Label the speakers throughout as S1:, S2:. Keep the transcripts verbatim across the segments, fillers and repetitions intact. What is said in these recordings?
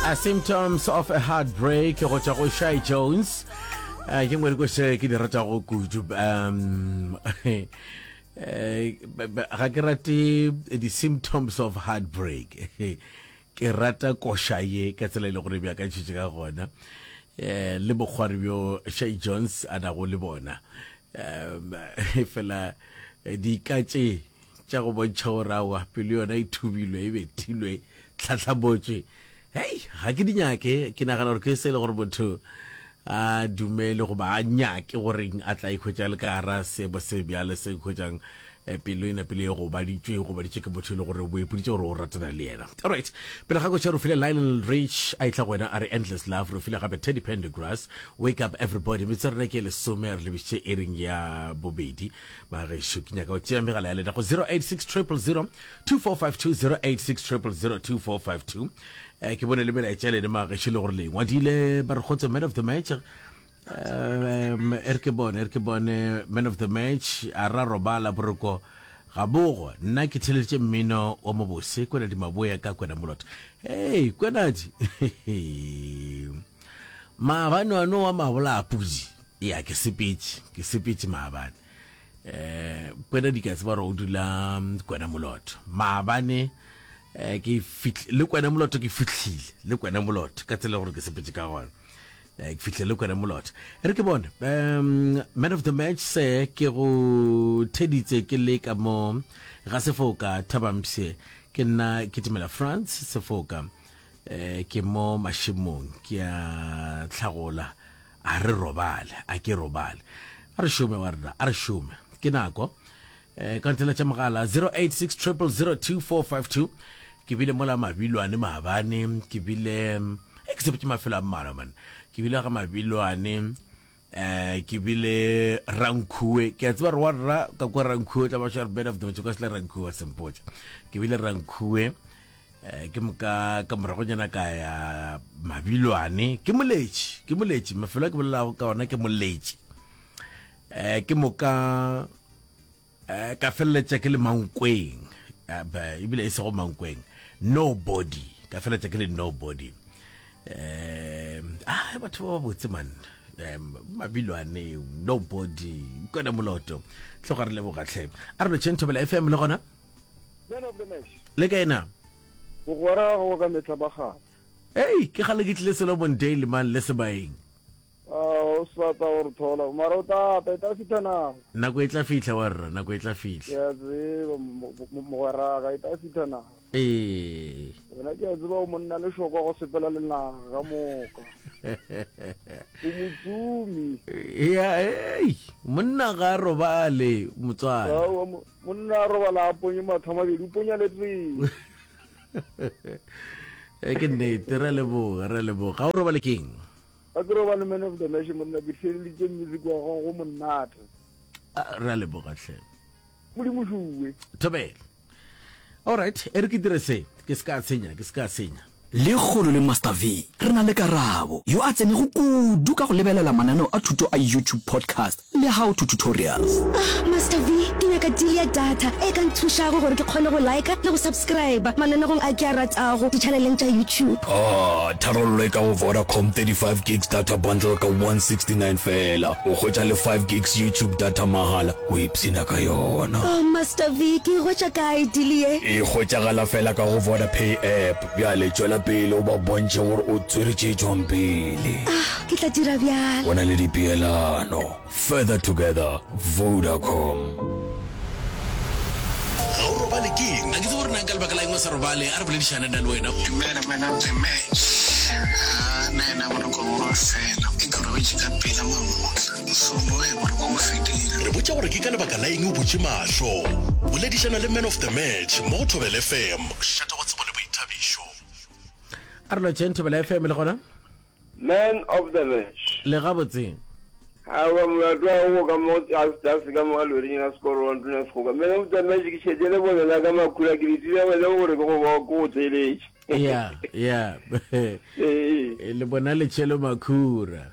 S1: A Symptoms of a Heartbreak go tšwa go Shy Jones. Uh, ke ngwe dikoše ke di ratago kudu. Um, eh, ga ke rate di-symptoms of heartbreak. Ke rata koša ye ka tsela e le gore beakantšhitše ka gona. Eh, le bokgwari bjo Shy Jones a nago le bona. Um, fela dika tše tša go bontšha gore aowa pelo yona e thubilwe e bethilwe tlhatlhabotšwe hei ga ke di nyake ke nagana gore ke se e le gore motho a dumele goba a nyake goreng a tla ikhwetša le ka gara seemo se bjale se ikhwetšang eh, pelo e napile e gobaditšwe e gobaditšwe ke motho e le gore o ipoditše gore o ratana le yena. Alright, pele ga koša re file Lionel Rich a itla go wena a re Endless Love, re file gape Teddy Pendergrass Wake Up Everybody. Metsotso ya rena ke e lesome re lebišitše ering ya bobedi. Bagešo ke nyaka go tšea megala ya lena go zero eight six triple zero two four five two, zero eight six triple zero two four five two. Eh, ke bone le melaetša lene magešo le gore le ngwadile ba re kgotso man of the match. Um e re ke bone, e re ke bone man of the match a ra robala boroko ga bogo. Nna ke theleditše mmino wa mobose Kwenadi Maboya ka Kwena Moloto. Hey Kwenadi, maabane ano wa mabola a pudi. Ya ke sepetše, ke sepetše maabane. Eh Kwenadi ka tseba gore o dula Kwena Moloto. Maabane eh ke fihl le Kwena Moloto ke fihlile le Kwena Moloto ka tsela gore ke sepetše ka gona. Eh ke fihlile le Kwena Moloto. E re ke bone um man of the match se ke go theditse ke le ka mo ga Sefoka Thabampshe ke nna ke timela France Sefoka eh ke mo mašemong ke a tlhagola a re robale a ke robale a re šome wa rena a re šome ke nako eh ka ntela tša mogala zero eight six triple zero two four five two ke bile mola Mabilwane maabane ke bile eh ke sepetše mafelo a mmalwa man ke bile ga Mabilwane eh ke bile Rankhuwe ke a tseba re wa rra ka kwa Rankhuwe tla ba share bed of the match ka sele Rankhuwe sempotša ke bile Rankhuwe eh ke moka ka moragonyana ka ya Mabilwane ke moletši ke moletši mafelo a ke bolelago ka ona ke moletši eh ke moka eh ka feleletša ke le Mankweng ebile e sego Mankweng nobody ka feleletša ke le nobody eh ah batho ba botse man um Mabilwane nobody Kwena Moloto tloga re leboga tlhe a re lotšheng Thobela F M le gona
S2: Man of the match
S1: le ka ena
S2: bogwera go ka metlha ba gale.
S1: Ei ke gale ke tlile Solomon Dale man le sebaeng.
S2: Ah o sa tla gore thola mara o tla tla e tla fihla nako.
S1: Nako e tla fihla wa rra nako e tla fihla.
S2: Ke a tseba mogwera ka e tla fihla nako.
S1: Ee.
S2: Wena ke a tseba o monna lešoko go sepela le naga ka moka. O motsumi.
S1: Ya ei monna ga a robale motswala.
S2: Aowa monna a robala a ponye mahlo a mabedi o ponya le tee.
S1: E ke nnete re leboga re leboga ga o robale keng?
S2: Ga ke robale man of the match monna ke theeleditše music wa gago go monate.
S1: Re a leboga hle.
S2: Modimo šuwe.
S1: Thobela. All right, e re ke dire se ke se ka senya ke se ka senya.
S3: Lekgono le Master V re na le Karabo, yo a tsenego kudu ka go lebelela mananeo a thuto a YouTube podcast le how to tutorials.
S4: Ah, Master V, ke nyaka deal ya data e ka nthušago gore ke kgone go liker le go subscriber mananegong a ke a ratago di-channeleng tša YouTube.
S3: Ah, tharollo e ka go Vodacom thirty five gigs data bundle ka one sixty nine feela. O hwetša le five gigs YouTube data mahala, o ipshina ka yona.
S4: Oh, Master V, ke e hwetša kae deal ye?
S3: E hwetšagala feela ka go Vodapay app. Bjale tšwela pele o ba bontšhe gore o tswere tše tšwang pele.
S4: Ah, ke tla dira bjalo.
S3: Go na le dipeelano. Further together, Vodacom.
S5: Ga o robale keng? A ke tsebe gore na ka lebaka la eng o sa robale. A re boledišane nna le wena.
S6: Dumela man of the match. Haa nna ena boroko bo ba fela ke robetše ka pela mamohla mošomo ge boroko bo fedile.
S5: Re botša gore ke ka lebaka la eng o butše mahlo. Boledišana le man of the match mo go Thobela F M. Mošate wa tsebo le boithabišo.
S1: A re lotšheng Thobela F M le gona?
S7: Man of the match.
S1: Le gabotse.
S7: Aowa molato wa go ka mo tlase ka mo ga loring la sekoro wa ntuna segoka. Man of the match ke šetše le bone la ka makhura ke letile wena gore ke go ke go theeletše.
S1: Ya ya.
S7: Ee.
S1: Le bona le tšhelo makhura.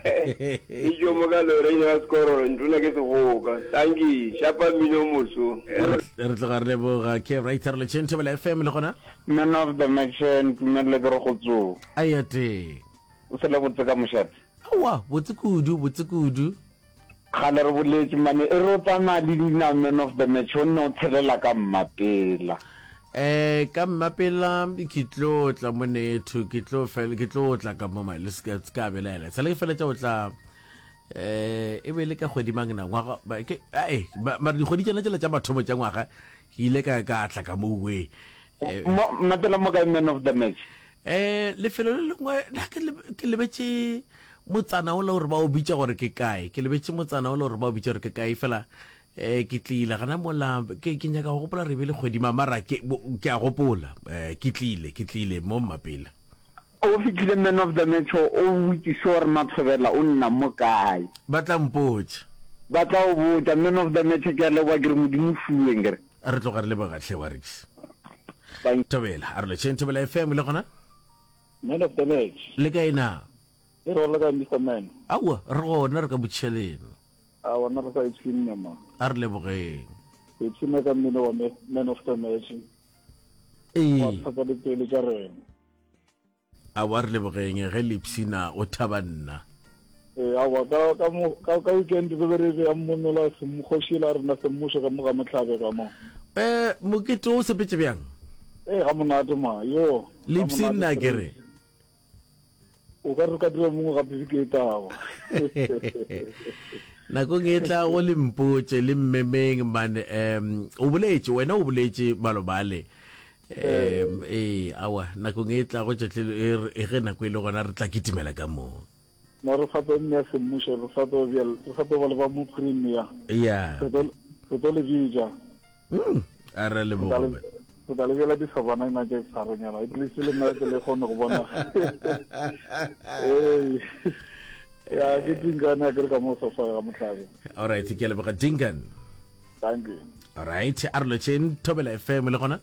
S7: E tšo mo ka loreng ya sekororo ntona ke segoka. Tanki, šapa mmino moso.
S1: Re tloga re leboga ke right re letšeng Thobela FM le gona.
S8: Man of the match ntumelele ke re go tso.
S1: A ya teng.
S8: O sele botse ka mošate.
S1: Aowa, botse kudu, botse kudu.
S8: Kgale re boletše mane e re o tsamaya le leina man of the match o nne o tshelela ka mmapela.
S1: Eh ka mmapela ke tlo tla monetho ke tlo fel ke tlo tla ka mo le se ka belaela sale ke feletša o tla eh e be le ka kgwedi mang na ngwaga ke ai mara dikgwedi tšena tšela tša mathomo tša ngwaga ke ile ka ka tla ka mo we
S8: eh, mmapela mo kae man of the match
S1: eh lefelo le lengwe na ke ke lebetše motsana ola gore ba o bitša gore ke kae ke lebetše motsana ola gore ba o bitša gore ke kae fela eh ke tlile gana mola ke ke nyaka go gopola re be le kgwedi mara ke ke a gopola eh ke tlile ke tlile mo mmapela
S8: o fitlhile man of the match o botšiše gore Mathobela o nna mo kae
S1: ba tla mpotša
S8: ba tla o botša man of the match ke a leboga ke re modimo fuweng ke re
S1: re tloga re leboga hle wa rex thobela a re letšheng thobela fm le gona
S2: man of the match
S1: le kae na
S2: e re le kae Mister Man
S1: aowa re gona re ka botšheleng
S2: a bona re sa ipshinne ma
S1: a re lebogeng
S2: re ipshinne ka mmino wa man of the match
S1: ee
S2: wa tlhatsa dipelo tša rena
S1: aowa re lebogeng ge le ipshina o thaba nna
S2: ee aowa ka ka mo ka ka weekend re be re beya mmonola kgoši la rena semmušo ka mo ga mohlabe ka mo
S1: eh mokete o sepetse bjang
S2: ee ga monate ma yo
S1: le ipshinna ke re
S2: o ka re ka dira mongwe gape beke e tlago
S1: nakong e tlago le mpotše le mmemeng man um o boletše wena o boletše malobale um ee awa nakong e tlago tšatlhe e ge nako e le gona re tla kitimela ka moo
S2: no re sa tlo nea semmušo re sa tlo re sa tlo ba le ba mo premier
S1: ya
S2: re tlo le bitša
S1: mm a re leboga
S2: Re tla lebela disabana ina tše tharonyana at least le nna ke le kgone go bona ee ya ke Dinkan a ke re ka mo sofa ga mohlabe
S1: all right ke a leboga Dinkan
S2: thank you
S1: all right a re lotšheng Thobela FM le gona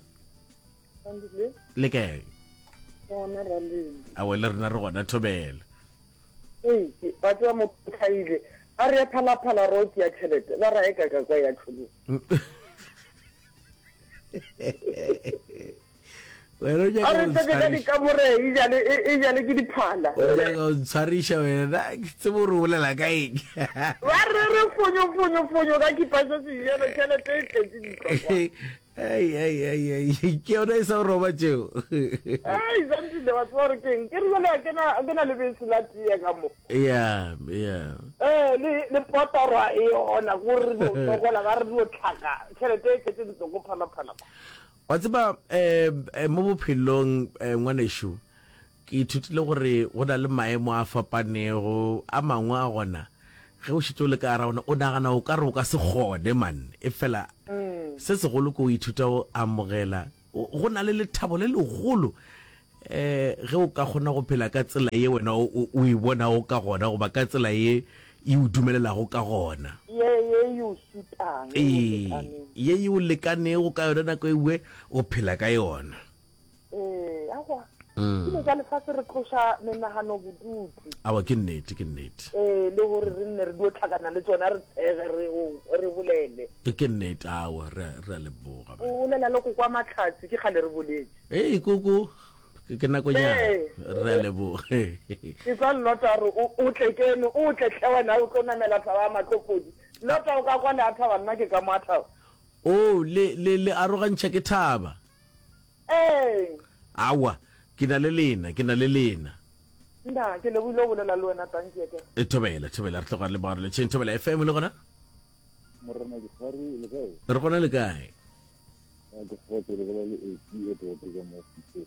S1: le kae awe le rena re gona Thobela
S9: Ee, ba tseba motho tlhaile a re ya phalaphala ro ya tšhelete ba ra e ka ka kwa ya tlholo
S1: wena o nyaka
S9: a re
S1: go
S9: tsebe ka
S1: ntshwariša
S9: dikamore e jale e jale ke diphala
S1: o nyaka go ntshwariša wena na ke tsebe gore o bolela ka eng
S9: ba re re fonyo fonyo fonyo ka kipa se se jalo tšhelete e tletse ditlokwa
S1: Ai, ai, ai, ai, ke yona e sa go roba tšeo
S9: ai santile wa tseba gore keng ke re jale a ke na a ke na lebese la tee ka mo
S1: ya ya
S9: ee le le potorwa e yona gore re dio sokola ba re dio tlhaka tšhelete e tletse ditloko phalaphala
S1: wa tseba um mo bophelong um ngwanešu ke ithutile gore go na le maemo a fapanego a mangwe a gona ge o šetše o le ka gara ona o nagana o ka re o ka se kgone man e fela se segolo ke o ithuta go amogela go na le lethabo le legolo um ge o ka kgona go phela ka tsela ye wena o o e bonago ka gona goba ka tsela ye e o dumelelago ka gona
S9: ye ye e o sutang ye
S1: ee ye e o lekanego ka yona nako e nngwe o phela ka yona
S9: Ee, aowa. Dilo tša lefase re tloša menagano bodutu.
S1: Aowa, ke nnete, ke nnete.
S9: Ee, le gore re nne re dio tlhakana le tsona re tshege re re bolele.
S1: Ke nnete, aowa, re re a leboga.
S9: O bolela le koko wa Mahlatse, ke kgale re boletše.
S1: Ee, koko, ke nakonyana, re a leboga.
S9: Ke tla Lota a re o o tle keno, o tle hle wena o tlo namela thaba ya Matlopodi. Lota o ka kwa le a thaba, nna ke ka mo a thaba.
S1: Oh, le le le arogantšha ke thaba.
S9: Ee.
S1: Aowa, ke na le lena, ke na le lena.
S9: Nna, ke lebohile go bolela le wena, tanki ya ka.
S1: E, thobela, thobela, re tloga re leboga re letšheng. Thobela F M le gona?
S2: Morena Dikgari, le kae?
S1: Re gona le kae?
S2: A ke kgotso, le bolela le Eti Edward ka mo Pretoria.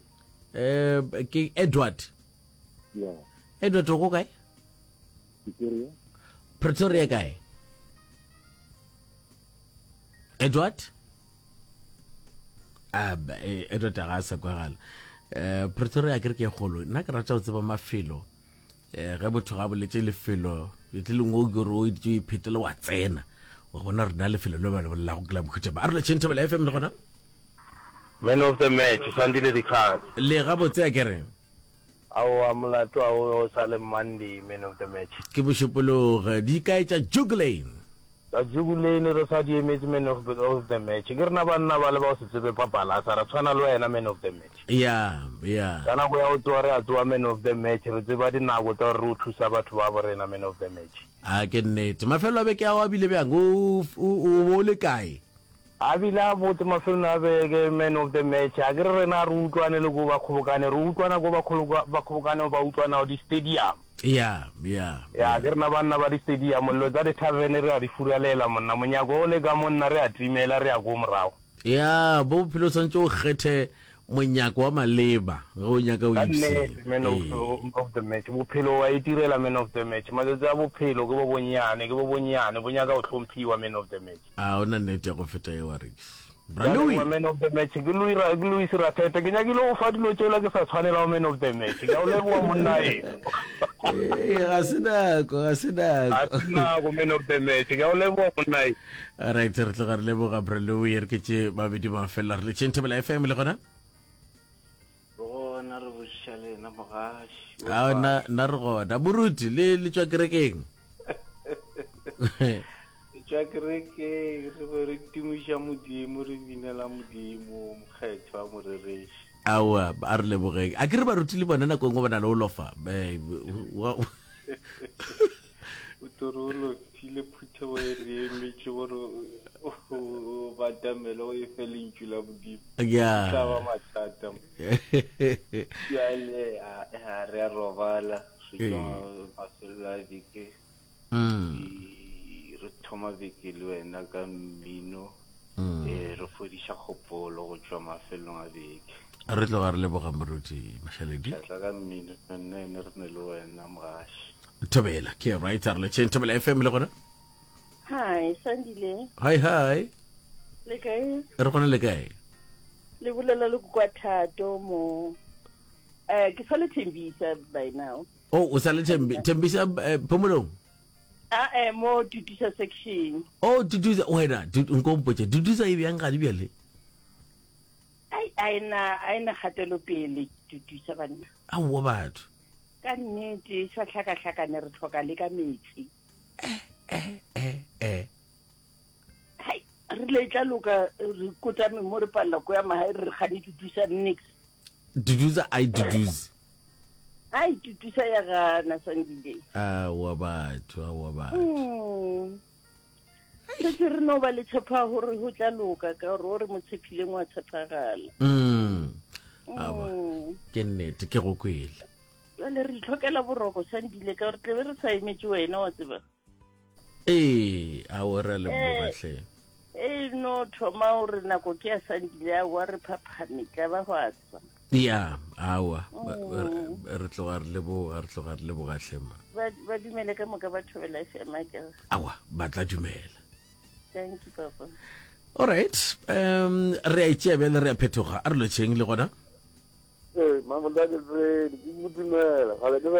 S1: Eh, ke Edward.
S2: Ya.
S1: Edward o ko kae?
S2: Pretoria.
S1: Pretoria kae? Edward? A e, Edward ga a sa kwagala. Um Pretoria ke re ke e kgolo. Nna ke rata go tseba mafelo. Um ge motho ga boletše lefelo, le lengwe o ke re o itse o iphetele wa tsena. Wa bona rena lefelo le ba le bolelago ke la mohuta ba. A re letšeng Thobela F M le gona.
S7: Man of the match, Sandile Dikgale.
S1: Le gabotse a ke re.
S10: Aowa molato a o sa le Monday man of the match.
S1: Ke Mošupologo. Di kae tša Juglane?
S10: Tša Juglane re sa di emetše man of, of the match. Ke rena banna bale ba go se tsebe papalasa, ra tshwana le wena man of the match.
S1: Ya, ya.
S10: Ka nako ya go tsoga re a tsoga man of the match, re tseba dinako tsa gore re o thusa batho ba bo rena man of the match.
S1: A ke nnete. Mafelo a beke ao a bile bjang? O, o, o bo o le kae?
S10: A bile a botse mafelong a beke, man of the match. A ke re rena ga re utlwane le ko ba kgobokane, re utlwana ko ba ba kgobokane ba utlwanago di stadium.
S1: Ya, ya,
S10: Ya, ke rena banna ba di stadium, dilo tsa di tavern re a di furalela monna, monyako o le ka monna re a timela re ya ko morago.
S1: Ya, bo bophelo o swanetše o kgethe monyako wa maleba ge o nyaka o
S10: Ka
S1: ipshina.
S10: nnete man of,
S1: Ee.
S10: of the match, bophelo wa itirela man of the match, matsatsi a bophelo ke bo bonnyane, ke bo bonnyane, bo nyaka go hlomphiwa man of the match.
S1: A o na nnete ya go feta yeo Rex? Bra
S10: Ke a
S1: Louis.
S10: leboga man of the match, ke Louis Ra, ke Louis Rathete, ke nyakile go fa dilo tšela ke sa tshwanelago man of the match, ke a o leboga monna eno.
S1: Ee, ga se nako, ga se
S10: Ga
S1: nako.
S10: se nako man of the match, ke a o leboga monna eno.
S1: Alright, re tloga re leboga Bra Louis, re ke tše babedi ba felela re letšeng Thobela F M le gona.
S11: Re gona re botšiša lena mogaši.
S1: A na na re gona. Moruti le le tšwa kerekeng.
S11: Re tšwa kerekeng re be re tumiša Modimo re binela Modimo mokgethwa morereši.
S1: Aowa a re lebogeng. A ke re baruti le bona nako e nngwe ba na le go lofa. Eh, wa-
S11: O tore o lofile phuthego e re emetše gore o o batamele o e fe lentšu la Modimo.
S1: Ya.
S11: E tla ba mathata. Bjale a a re a robala re tšwa mafelelo a beke.
S1: Mm.
S11: Re thoma beke le wena ka mmino.
S1: Mm.
S11: Eh, re fodiša kgopolo go tšwa mafelong a beke.
S1: Re tloga re leboga moruti Mashaledi.
S11: Tla ka mmino nna ene re ne le wena mogaši.
S1: Thobela ke right re letšeng Thobela F M le gona.
S12: Hi, Sandile.
S1: Hi hi.
S12: Le kae?
S1: Re gona le kae?
S12: Le bolela le kwa Thato mo. Eh, ke sa le Thembisa by now.
S1: Oh, o sa le Thembi Thembisa eh, Phomolong.
S12: Ah, eh, mo Tutusa section.
S1: Oh, Tutusa wena, nko mpotše Tutusa e bjang gadi bjale?
S12: Ai, aina aina kgatelopele Tutusa banna.
S1: Aowa batho.
S12: Ka nnete sa hlakahlakane re tlhoka le ka metsi.
S1: Eh, eh, eh, eh.
S12: Hai, re le tla loka re kotame mo re palela ko ya mahae re gane Tutusa nix.
S1: Tutusa ai Tutusa.
S12: Ai Tutusa ya gana Sandile.
S1: Aowa batho, aowa batho.
S12: Mm. Setse re no ba le tshepo ya gore go tla loka ka gore o re mo tshepileng wa tshepagala.
S1: Mm. Aowa.
S12: Mm.
S1: Ke nnete ke go kwele.
S12: Jwale re itlhokela boroko Sandile ka gore tlebe re sa emetse wena wa tseba.
S1: Ee, aowa re a leboga
S12: Eh.
S1: hle.
S12: E no thoma gore nako ke ya Sandile aowa re phaphame tla ba go a tswa.
S1: Ya, aowa. Ba-
S12: Mm.
S1: Re re tloga re leboga, re tloga re leboga hle ma.
S12: Ba ba dumele ka moka ba Thobela F M akere.
S1: Aowa, ba tla dumela.
S12: Thank you papa.
S1: All right. Um re a itšea bjale re a phetoga. A re lotšheng le gona.
S7: Ee, Mamodake Tsedi, ke go dumela. Gale ke be